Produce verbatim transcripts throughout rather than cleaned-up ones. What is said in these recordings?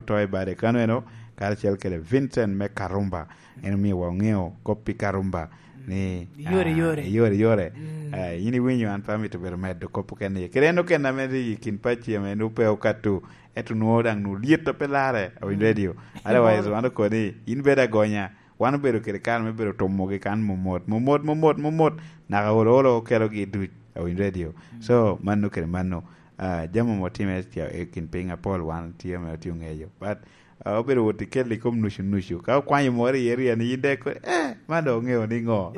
Toy Bade Kanweno, karacel kede Vincent me Karumba. En omio wa oŋeo kop pi Karumba ni, Yore, ah, yore. Yore, yore. Mm. Ah, in iwinyo, an pe amito bedo medo kop okene iye. Kede en okene ame tye i kin pacci ame nwoŋo pe okato, ento nwoŋo daŋ nwoŋo lyet a pe larre, awinyo redio. Otherwise, wan okoni, in bedo agonya. Wan obedo kede kare me bedo tumogi kan momot, momot, momot, momot. Naka olo, olo okelogi duc, awinyo redio. Mm. So, mano kede mano. Ah, jami ame otimme ca-, i kin piny apol wan tye ame otye oŋeyo. But, ah, obedo wot i kel i kom nucu nucu. Ka okwanyo moro i area ni, in dek, eh, man dok oŋeo ni ŋo?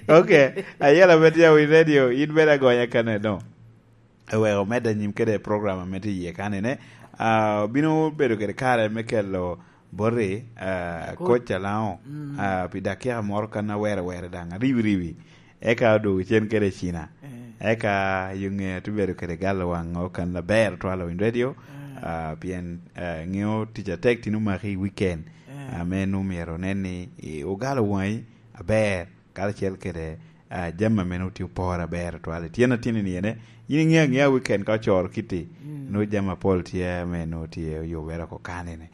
Ok, ayela me tye awinyo redio, in bene agonya kaneno. Eweko medde anyim kede program ame tye iye kanene. Ah, obino bedo kede kare me kelo boti, ah, Coach. Coach Alao, mm, ah, pi dakika moro kan awere were daŋ, ariwi riwi. Eka odwogo cen kede Cina. Eh. Eka yo ŋe atubedo kede galo waŋ okan aber twal Winy Radio, eh, ah, pien, eh, ŋeo tic atek tin omaki i weekend, eh, ame nwoŋo myero onen ni, eh, ogalo waŋi aber, karacel kede, ah, jami ame nwoŋo tye oporo aber twal. Tyen atini ni ene, yin iŋeo aŋea weekend ka ocoro kitti, mm, nwoŋo jami apol tye ame nwoŋo tye oyubere oko kanene.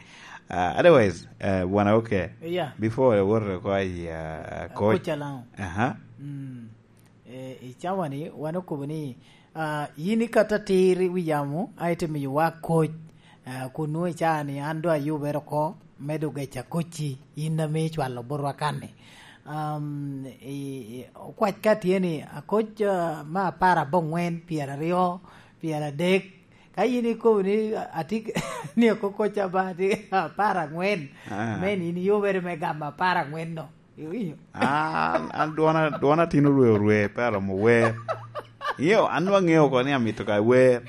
Ah, otherwise, eh, bwana, okay. Yeah. Before I worry ko ayi, ah, ah, coach. Coach Alao. Aha. Mm. Eh, i cawa ni, wan okobo ni, ah, yin ikato atir i wi yamo, a ite miyowa coach, ah, kun nwoŋo i cawa ni an doŋ ayubere oko, me doŋ geca coach-ci, yin ame icwalo botwa kan-ni. Um, i, i, okwac ka tye ni, a coach, ah, me apar aboŋwen, pyeraryo, pyeradek, ka yin ikobo ni, ah, atye k-, ni oko coach aba, atye apar angwen, ah, men yin iyubere me gamo apar angwen-no. Iwinyo? An, an dwona, dwona tin orwe orwe, pe aromo wer. Iyo, an dwa ŋeo oko ni amito ka wer.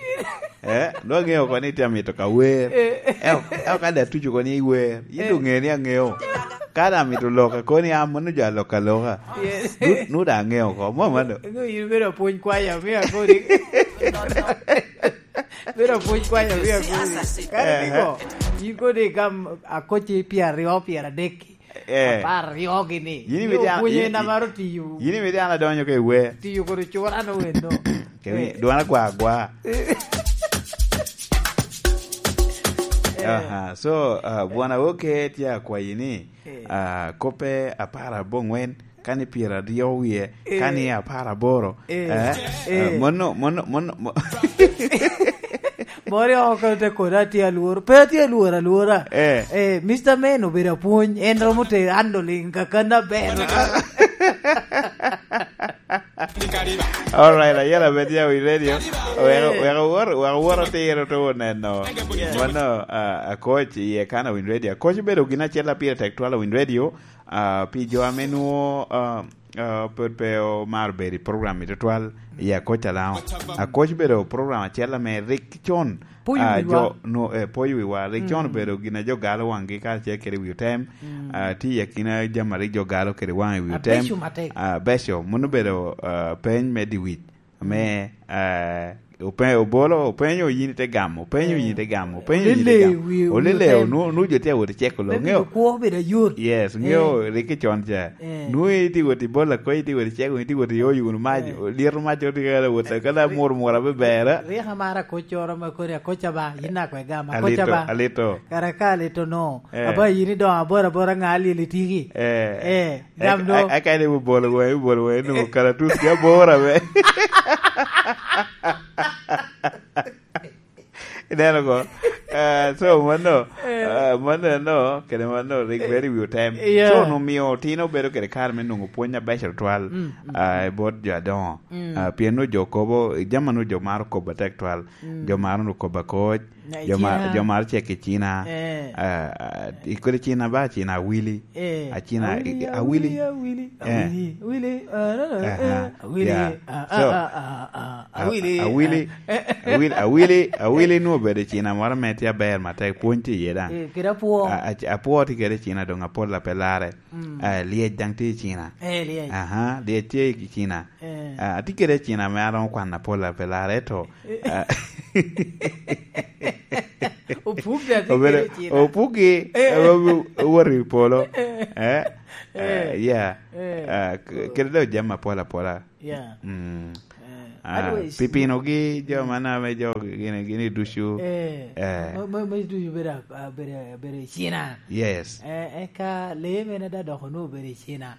Eh, dwa ŋeo oko ni tye amito ka wer. Eh. Eo, eo ka dati tuco oko ni iwer. Yin, eh, doŋ ŋe ni aŋeo. Ka dati amito loka koni, ah, mano jo aloka aloka. Yes. Nu, nu da aŋeo oko. Mo mano. Ŋeo yin bedo apwony kwaya, mi akoni. Bedo apwony kwaya, mi akoni. Kare, eh, niko, yin kodi gam akoci pyeraryo, pyeradek. Eh. Apar aryo gini. Yin imito an, opwonyo yin, en amaro tiyo. Yin imito an adonyo ka i wer. Tiyo kodi cura no wendo. Kemi, eh, dwon agwa agwa. Eh. Aha, so, ah, bwana, oke tye akwayi ni, eh, ah, koppe apar aboŋwen, kani pyeraryo wie, eh, kani apar aboro, eh, eh, eh, eh, mono, mono, mono, mo- Mori oko te koda atye alworo. Pe atye alworo alwora. Eh. Eh, Mister Men obedo apwony. En romo te handling kakan aber. All right, ayela bed ya wi radio. Weko, eh, weko wor, weko wor atiro to neno. Yeah. Mano, ah, akoc iye kan a Win Radio. Akoc obedo gin acel a pire tek twal a Win Radio. Ah, pi jo ame nwo, ah, ah, pwod pe omaro bedo i program i tutwal, i Akoc Alao. Akoc bedo program acel ame rik con, poyo ah, wiwa. Jo, no, eh, poyo wiwa. Rik con, mm, obedo gin a jo galo waŋgi karacel kede wi otem. Mm. Ah, tye i akina jami a rik jo galo kede waŋ i wi otem. Abeco matek. Ah, beco. Mano obedo, ah, peny me diwic. Ame, eh, ope-, obolo, openyo yin ite gamo, openyo yin ite gamo, openyo yin ite gamo. Olele, wi, wi, olele, otem. Nu, nu jo tye awot i ceko lo, me ŋeo. Bedo kwo, bedo ayot. Yes, ŋeo, eh, riki con ca. Eh. Nu iti wot i bola ko, iti wot i ceko, iti wot i oyo wunu mac, eh, lyeto mac oti kala wot, kala mur mur abe bera. Rik amara koc coro ma kodi akoca ba, yin ako egama, akoca ba. Alito, alito. Kara ka alito no, eh, aba yin idongo abora abora ŋa alyel itiki. Eh. Eh. Gam do. Aka ni bubolo waŋi, bubolo waŋi, nwoŋo kalatus ki aboro ame. Ineno ko? Eh, so, mano, eh, eh, mano, no, kede mano, rik, eh, very well time. Yeah. So, nwoŋo omio tin obedo kede kare me nwoŋo pwony abeco twal, mm, mm, ah, i bot jo adoŋo. Mm. Ah, pien nwoŋo jo kobo, jami nwoŋo jo maro kobo atek twal. Mm. Jo maro nwoŋo kobo akoc. Jo ma-, jo maro cek i Cina. Eh. Ah, ah, i kodi Cina ba, Cina awili. Eh. A Cina, awili, awili. Awili, awili, awili. Eh. Awili, ah, no, no, eh, aha, awili, yeah. Ah, ah, so, ah, ah, ah, ah, awili, awili, ah, eh, eh, awili, awili, awili nwoŋo obedo i Cina moro ame tye aber matek, pwony tye iye daŋ. Eh, kede apwo. A, a, apwo tye kede i Cina doŋ apol a pe larre. Mm. Eh, lyec daŋ tye i Cina. Eh, lyec. Aha, lyec tye i Cina. Eh. Ah, atye kede i Cina ame aromo kwano apol a pe larre, to, eh, ah, opuk da tye kede i Cina. Obedo, opukgi, eh, eh, owo-, owoto i polo. Eh. Eh? Eh. Eh, yeah. Eh. Ah, k-, kede dok jami apol apola. Yeah. Mm. Eh. Ah, Otherwise, pipinogi, jo man ame jo gini, gini ducu. Eh, Eh. ma, ma, ma ducu bedo, ah, bedo, bedo i Cina. Yes. Eh, eka lee mene da dok onwoŋo obedo i Cina.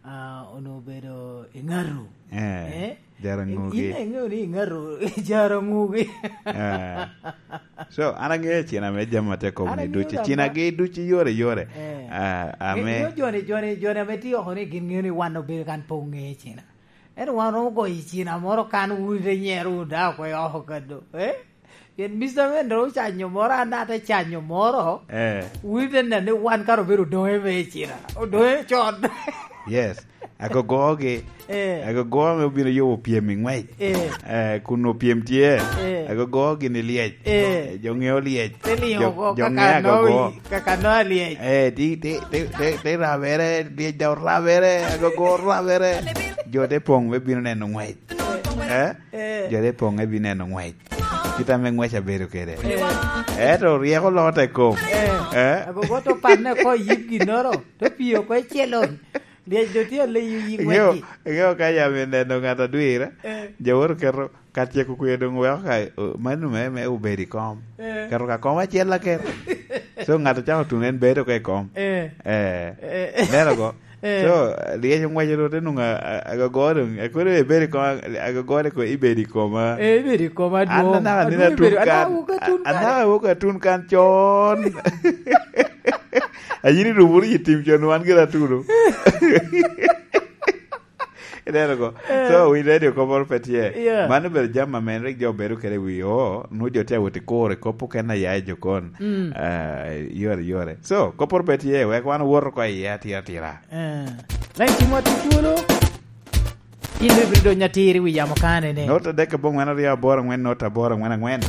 Ah, onwoŋo obedo i Ŋaru. Eh, Eh? Jaraŋugi. In, in iŋeo ni i Ŋaru, Jaraŋugi. Eh. So, an aŋeo Cina me jami ma te kobo An ni aŋeo ducu. Cina ma- gi ducu yore, yore. Eh. Ah, ame- Ŋeo joni, joni, joni ame tye oko ni gin ŋeo ni wan obedo kan pe oŋe Cina. Ento wan romo goyo i Cina moro kan wun ite nyero wun daŋ oko i oko kado. Eh? Pien Mister Mendo ocanyo moro, an daŋ ate canyo moro. Eh. Wun ite neno ni wan kara obedo odoŋe me i Cina. Odoŋe con. Yes. Agogogi. Eh. Agogo ame obino yubo pyem i ŋwec. Eh. Eh, kun opyem tye. Eh. Agogo gini lyec. Eh. Eh, jo ŋeo lyec. Te liŋo Jo, oko jo kaka ŋeo agogo. Noa, kaka Noa lyec. Eh, ti, ti, ti, ti, ti rabere, lyec da orabere, agogo orabere. Jo te poŋ me bino neno ŋwec. Eh? Eh. Jo te poŋ me bino neno ŋwec. Kit ame ŋwec abedo kede. Eh. Ento ryeko loko te kom. Eh. Eh? Agogo to panne oko i yib ginnoro, to pii oko i celon. Lyec doŋ tye aleyo yi Iŋeo, ŋwecci. Iŋeo ka yam ineno ŋat adwira, Eh. jo woro keto, ka tyeko kwer doŋ weko ka, o, mano me, me obedo i kom. Eh. Keto ka kom acel aket. So, ŋat ocako tuno en bedo ka i kom. Eh. Eh. Eh. Ineno ko? Eh. So, lyec oŋweco doŋ te nwoŋo a, a, agogo doŋ, akodo ibedo i kom, agogo de ko ibedo i koma. Eh, ibedo i koma An dwoŋ. Anaka nino Adwoŋ atun ibedo, kan. Anaka awok atun kan. Anaka awok atun kan con. Ayin irumo wunu i tim con, wan gira atuno. Ineno ko? Eh. So, wi radio kop moro pe tye. Yeah. Mano obedo jami ame rik jo bedo kede i wi o, nwoŋo jo tye awot i kuro i kop okene a ya i jokon. Mm. Ah, yore, yore. So, kop moro pe tye, wek wan owot oko iye atira, atira. Eh. Lain timwa tye twolo. In bene ibino donyo atir i wi yamo kanene. Not adek aboŋwen aryo aboro aŋwen, not aboro aŋwen aŋwen.